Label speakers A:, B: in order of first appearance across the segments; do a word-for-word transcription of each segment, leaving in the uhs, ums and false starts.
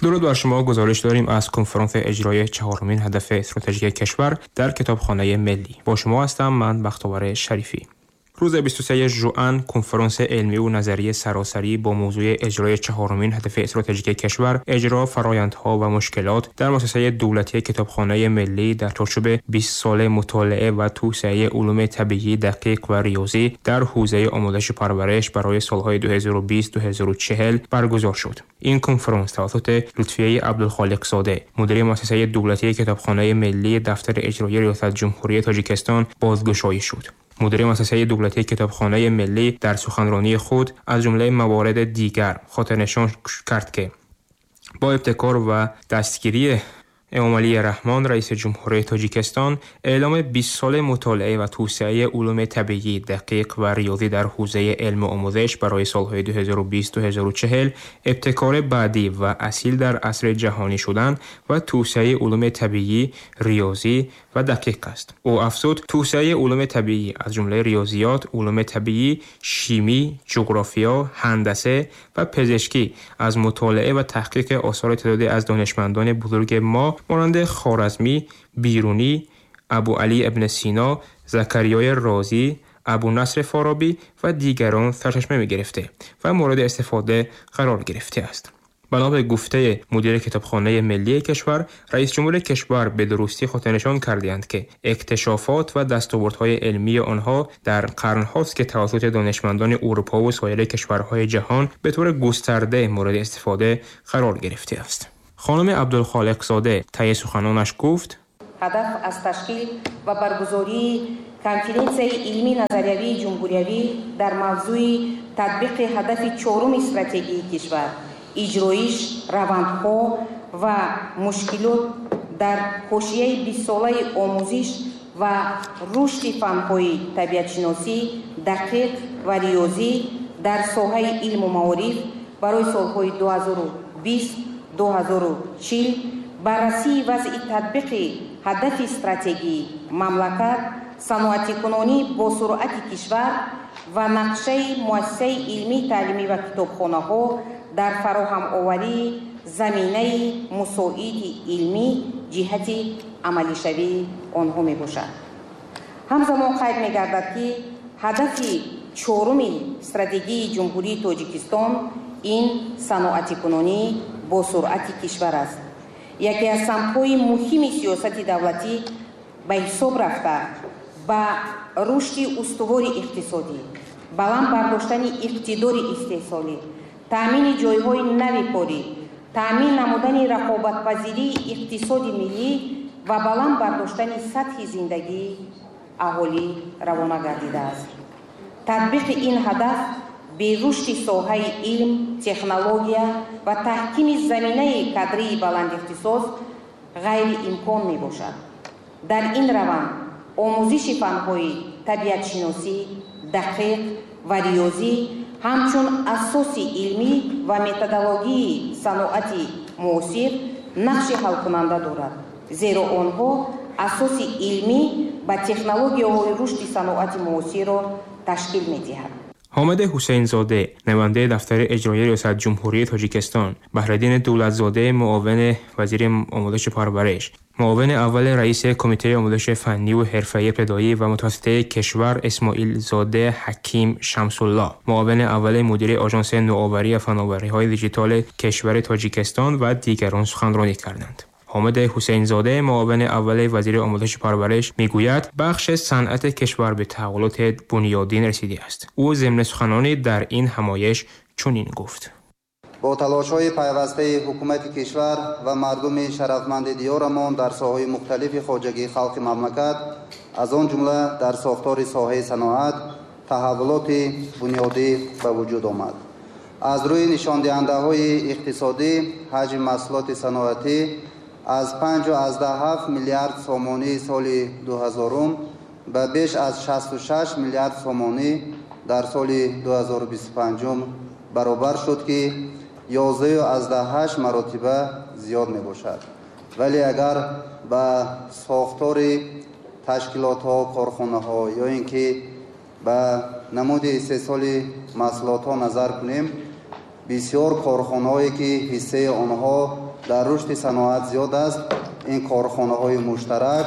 A: درود بر شما. گزارش داریم از کنفرانس اجرای چهارمین هدف استراتژیک کشور در کتابخانه ملی. با شما هستم من بختاور شریفی. روز بیست و سه ژوئن کنفرانس علمی و نظری سراسری با موضوع اجرای چهارمین هدف استراتژیک کشور، اجرا فرآیندها و مشکلات در مؤسسه دولتی کتابخانه ملی در چارچوب بیست ساله مطالعه و توسعه علوم طبیعی دقیق و ریاضی در حوزه آموزش پرورش برای سالهای دو هزار و بیست تا دو هزار و چهل برگزار شد. این کنفرانس توسط لطفیه عبدالخالق زاده، مدیر مؤسسه دولتی کتابخانه ملی دفتر اجرایی ریاست جمهوری تاجیکستان بازگشایی شد. مدیر مؤسسه دولتی کتابخانه ملی در سخنرانی خود از جمله موارد دیگر خاطرنشان کرد که با ابتکار و دستگیری امامعلی رحمان رئیس جمهوری تاجیکستان اعلام بیست سال مطالعه و توسعه علوم طبیعی دقیق و ریاضی در حوزه علم و آموزش برای سالهای دو هزار و بیست تا دو هزار و چهل ابتکار بعدی و اصیل در عصر جهانی شدن و توسعه علوم طبیعی، ریاضی و دقیق است. او افزود توسعه علوم طبیعی از جمله ریاضیات، علوم طبیعی، شیمی، جغرافیا، هندسه و پزشکی از مطالعه و تحقیق آثار تعدادی از دانشمندان بزرگ ما مانند خوارزمی، بیرونی، ابو علی ابن سینا، زکریای رازی، ابو نصر فارابی و دیگران سرچشمه می گرفته و مورد استفاده قرار گرفته است. بنا به گفته مدیر کتابخانه ملی کشور، رئیس جمهور کشور به درستی خاطرنشان کردند که اکتشافات و دستاوردهای علمی آنها در قرن‌هاست که توسط دانشمندان اروپا و سایر کشورهای جهان به طور گسترده مورد استفاده قرار گرفته است. خانم عبدالخالق زاده طی سخنانش گفت:
B: هدف از تشکیل و برگزاری کنفرانس علمی نظریوی جمهوریوی در موضوع تطبیق هدف چهارم استراتژی کشور، اجرایش روندها و مشکلات در حاشیه بیست ساله آموزش و رشد فن‌های طبیعت‌شناسی دقیق و ریاضی در ساحه علم و معارف برای سالهای دو هزار و بیست دو هزار و چهل، بررسی وضع تطبیق هدف استراتژی مملکت، صنعتی کنونی با سرعت کشور و نقشه مؤسسه علمی تعلیمی و کتابخانه‌ها در فراهم آوری زمینه مساعد علمی جهت عملی شوی آنها می باشد. همزمان قید می گردد که هدف چهارم استراتژی جمهوری تاجیکستان این صنعتی کنونی با سرعت کشور است. یکی از سمت‌های مهم سیاست دولتی به حساب رفته با رشد استوار اقتصادی، بلند برداشتن اقتدار استحصالی، تأمین جای‌های نوی کاری، تأمین نمودن رقابت‌پذیری اقتصاد ملی و بلند برداشتن سطح زندگی اهالی روانه گردیده است. تطبیق این هدف به رشد ساحه علم، تکنولوژی و تحکیم زمینه کادری بلند اختصاص غیر امکان می باشد. در این روند آموزش فن‌های طبیعت شناسی، دقیق و ریاضی همچون اساس علمی و متدولوژی صنعت معاصر نقش حل کننده دارد، زیرا آنها اساس علمی و تکنولوژی‌های رشد صنعت معاصر را تشکیل می‌دهد.
A: حامد حسین زاده، نماینده دفتر اجرایی ریاست جمهوری تاجیکستان، بهرالدین دولت‌زاده، معاون وزیر آموزش و پرورش، معاون اول رئیس کمیته آموزش فنی و حرفه‌ای ابتدایی و متوسطه کشور اسماعیل زاده حکیم شمس‌الله، معاون اول مدیر آژانس نوآوری و فناوری‌های دیجیتال کشور تاجیکستان و دیگران سخنرانی کردند. حامد حسین زاده، معاون اول وزیر آموزش و پرورش، میگوید بخش صنعت کشور به تحولات بنیادین رسیده است. او ضمن سخنانی در این همایش چنین گفت:
C: با تلاش‌های پیوسته حکومت کشور و مردم شرفمند دیارمان در ساحه‌های مختلف خواجگی خلق مملکت، از آن جمله در ساختار ساحه صنعت، تحولات بنیادی به وجود آمد. از روی نشاندهنده‌های اقتصادی، حجم محصولات صنعتی از پنج و از ده هفت میلیارد سومانی سال دو هزارم به بیش از شصت و شش میلیارد سومانی در سال دو هزار و بیست و پنجم برابر شد که یازده و از ده هشت مراتبه زیاد می باشد. ولی اگر به ساختار تشکیلات ها، کارخانه ها یا اینکه به نمود استحصال محصولات ها نظر کنیم، بسیار کارخانه هایی که حصه آنها дар рушди саноат зиёд аст, ин корхонаҳои муштарак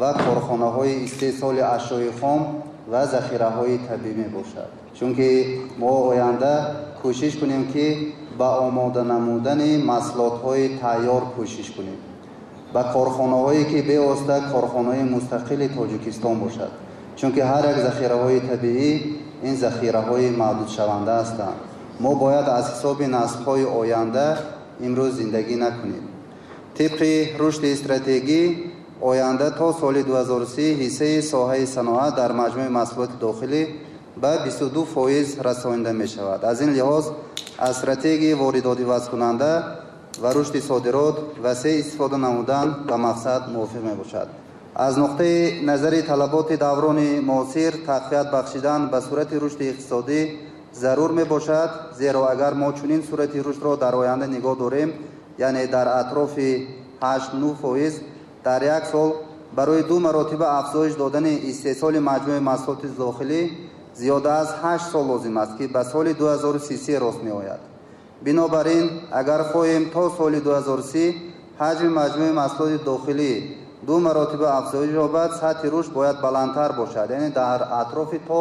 C: ва корхонаҳои истеҳсоли ашёи хом ва захираҳои табиӣ мебошад. Чунки мо оянда кӯшиш кунем, ки ба омода намудани маҳсулотҳои тайёр кӯшиш кунем, ба корхонаҳое ки бевосита корхонаҳои мустақили Тоҷикистон бошад, чунки ҳар як захираҳои табиӣ ин захираҳои маҳдудшаванда ҳастанд. Мо бояд аз ҳисоби наслҳои оянда имрӯз зиндагӣ накунем. Тибқи рушди стратегӣ оянда то соли ду ҳазору си ҳиссаи соҳаи саноат дар маҷмӯи маҳсулоти дохилӣ ба бисту ду фоиз расонида мешавад. Аз ин лиҳоз аз стратегияи воридотивазкунанда ва рушди содирот васеъ истифода намудан ба мақсад мувофиқ мебошад. Аз нуқтаи назари талаботи даврони муосир тақвият бахшидан ба сурати рушди иқтисодӣ зарур мебошад, зеро агар мо чунин сурати рушдро дар оянда нигоҳ дорем, яъне дар атрофи ҳашт нӯҳ фоиз дар як сол, барои ду маротиба афзоиш додани истеҳсоли маҷмӯи маҳсулоти дохилӣ зиёда аз ҳашт сол лозим аст, ки ба соли ду ҳазору си се рост меояд. Бинобар ин агар хоҳем то соли ду ҳазору си ҳаҷми маҷмӯи маҳсулоти дохилӣ ду маротиба афзоиш ёбад, сатҳи рушд бояд баландтар бошад, яъне дар атрофи то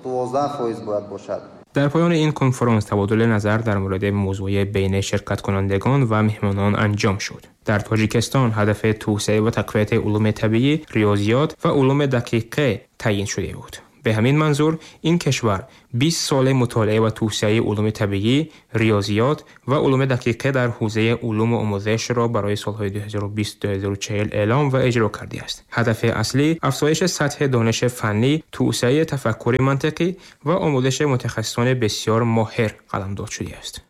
C: дувоздаҳ фоиз бояд бошад.
A: Дар поёни ин конференс табодули назар дар мавриди мавзӯи байни ширкаткунандагон ва меҳмонон анҷом шуд. Дар Тоҷикистон ҳадафи توسعه و تقویت علوم طبیعی، ریاضیات و علوم دقیقه تعیین شده بود. به همین منظور این کشور بیست سال مطالعه و توسعه علوم طبیعی، ریاضیات و علوم دقیقه در حوزه علوم و آموزش را برای سالهای دو هزار و بیست تا دو هزار و چهل اعلام و اجرا کرده است. هدف اصلی افزایش سطح دانش فنی، توسعه تفکر منطقی و آموزش متخصصان بسیار ماهر قلمداد شده است.